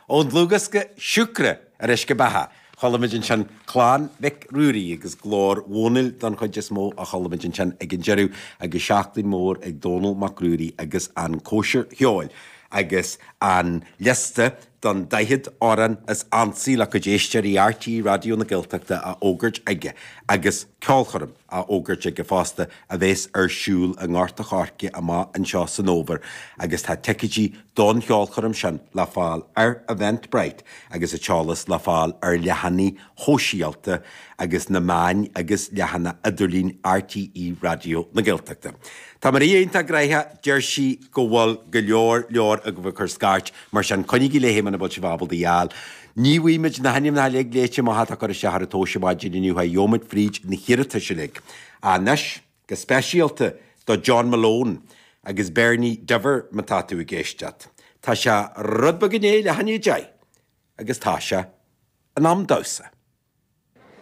Ón dlúthdhiosca Siúcra ar Uisce Beatha, chuala muid ansin Clann Mhic Ruairí agus glór Dhónaill don chuid is mó a chuala muid ansin ag an deireadh agus Seachtain Mhór ag Dónall Mac Ruairí agus an Cóisir Cheoil agus an liosta don 40 amhrán is ansaí le cuid éisteoirí RTÉ Raidió na Gaeltachta á fhógairt aige agus ceolchoirm á fhógairt aige fosta a bheas ar siúl i nGort a' Choirce amach anseo san fhómhar agus tá ticéidí don cheolchoirm sin le fáil ar Eventbrite agus an t-eolas le fáil ar leathanaigh shóisialta agus na meáin agus leathanach idirlín RTÉ Raidió na Gaeltachta. Tá Maria iontach gnoitheach, deir sí go bhfuil go leor leor agaibh ag cur scairt, mar sin coinnígí léi muna bhfuil sibh ábalta í a fháil. Ní bhfaighimid na hainmneacha uilig léite amach atá curtha isteach ar an tomhais ar maidin inniu, gheobhaimid fríd na hiarratais uilig. Anois, go speisialta do John Malone agus Bernie Diver má tá tú ag éisteacht, tá sé rud beag i ndiaidh leath i ndiaidh a deich agus tá sé in am damhsa.